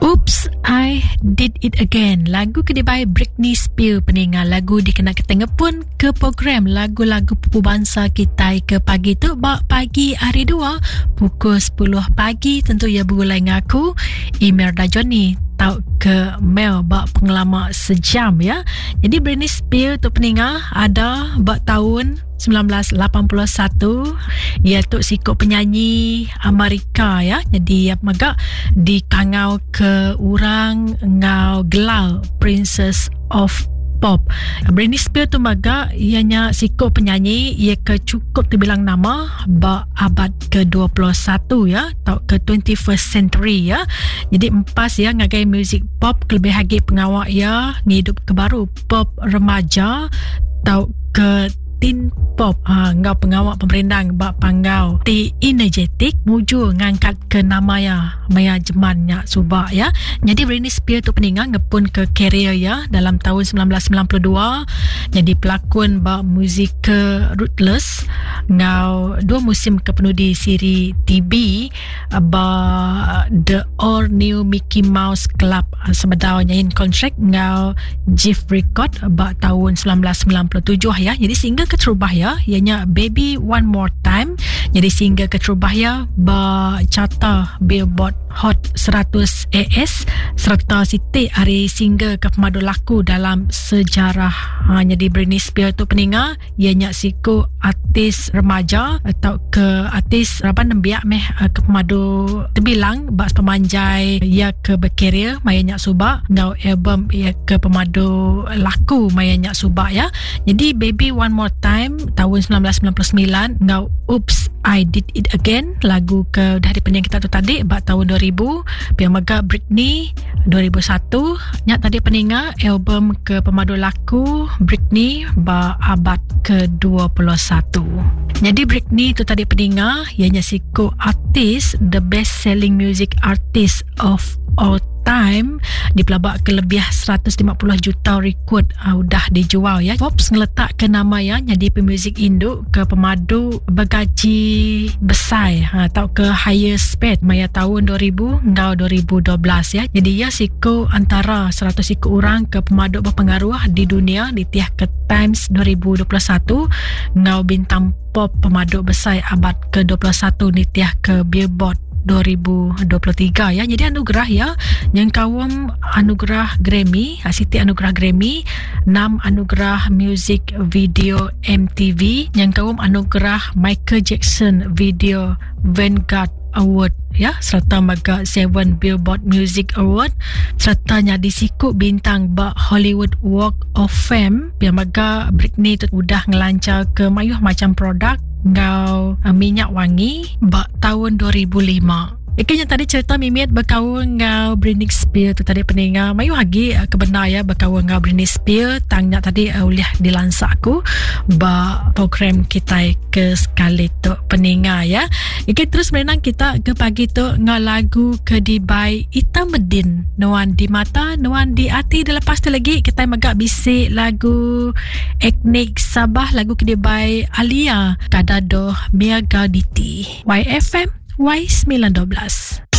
Oops, I Did It Again. Lagu ke dibai Britney Spears peninga lagu dikena kita ngepun ke program lagu-lagu pupu bansa kitai ke pagi tu ba pagi hari dua pukul 10 pagi tentu ya begulai ngaku Imelda Johnny tau ke mail ba pengelama sejam ya. Jadi Britney Spears tu peninga ada ba tahun 1981 ia tu siku penyanyi Amerika ya. Jadi ia mega dikangau ke orang ngau gelar Princess of Pop. Britney Spears tu mega ianya siku penyanyi ia ke cukup terbilang nama ba abad ke-21 ya atau ke 21st century ya. Jadi empas ya ngagai music pop kelebih lagi pengawak ya ngidup ke baru pop remaja tau ke teen pop ha, enggau pengawa pemerindang ba panggau ti energetik mujur ngangkat ke nama ya maya jeman nya suba ya. Jadi Britney Spears tu peninga ngepun ke karier ya dalam tahun 1992 jadi pelakon ba musikal Ruthless enggau dua musim ke penudi siri TV ba The All New Mickey Mouse Club sebedau nyain kontrak enggau Jive Record ba tahun 1997 ya. Jadi single keterubah ya ianya Baby One More Time. Jadi single keterubah ya ba carta Billboard Hot 100 AS serta siti hari single ke pemadu laku dalam sejarah. Ha, jadi Britney Spears tu peninga iya nya siku artis remaja atau ke artis raban nembiak meh eh, ke pemadu tebilang ba sepemanjai iya ke berkarier maya nya suba enggau album iya ke pemadu laku maya nya suba ya. Jadi Baby One More Time tahun 1999 enggau Oops I Did It Again lagu ke dah dipening kita tu tadi ba tahun 2000 pia mega Britney 2001 nya tadi peninga album ke pemadu laku Britney ba abad ke-21. Jadi Britney tu tadi peninga ianya siku artis the best selling music artist of all time dipelabak ke lebih 150 juta rekod uh, udah dijual ya. Forbes ngeletak ke nama ya jadi pemuzik induk ke pemadu bergaji besar ha, atau ke highest paid maya tahun 2000 enggau 2012 ya. Jadi ya siku antara 100 siku orang ke pemadu berpengaruh di dunia ditih ke Times 2021 enggau bintang pop pemadu besar abad ke-21 nitih ke Billboard 2023 ya. Jadi anugerah ya nyengkaum anugerah Grammy, siti anugerah Grammy, 6 anugerah Music Video MTV, nyengkaum anugerah Michael Jackson Video Vanguard Award ya serta mega Seven Billboard Music Award serta nyadi siku bintang ba Hollywood Walk of Fame. Pia mega Britney tu udah ngelancar ke mayuh macam produk enggau eh, minyak wangi ba tahun 2005. Ikan yang tadi cerita mimit berkaul enggau Britney Spears tu tadi peninga mayuh agi eh, kebenar ya berkaul enggau Britney Spears tang nya tadi uh, ulih dilansak aku ba program kita ke sekali tu peninga ya. Ikan terus merenang kita ke pagi tu enggau lagu ke dibai Ita Medin Nuan di mata Nuan di ati dah lepas tu lagi kita mega bisi lagu Etnik Sabah lagu ke dibai Alia Kadado Miaga Diti. YFM Y912.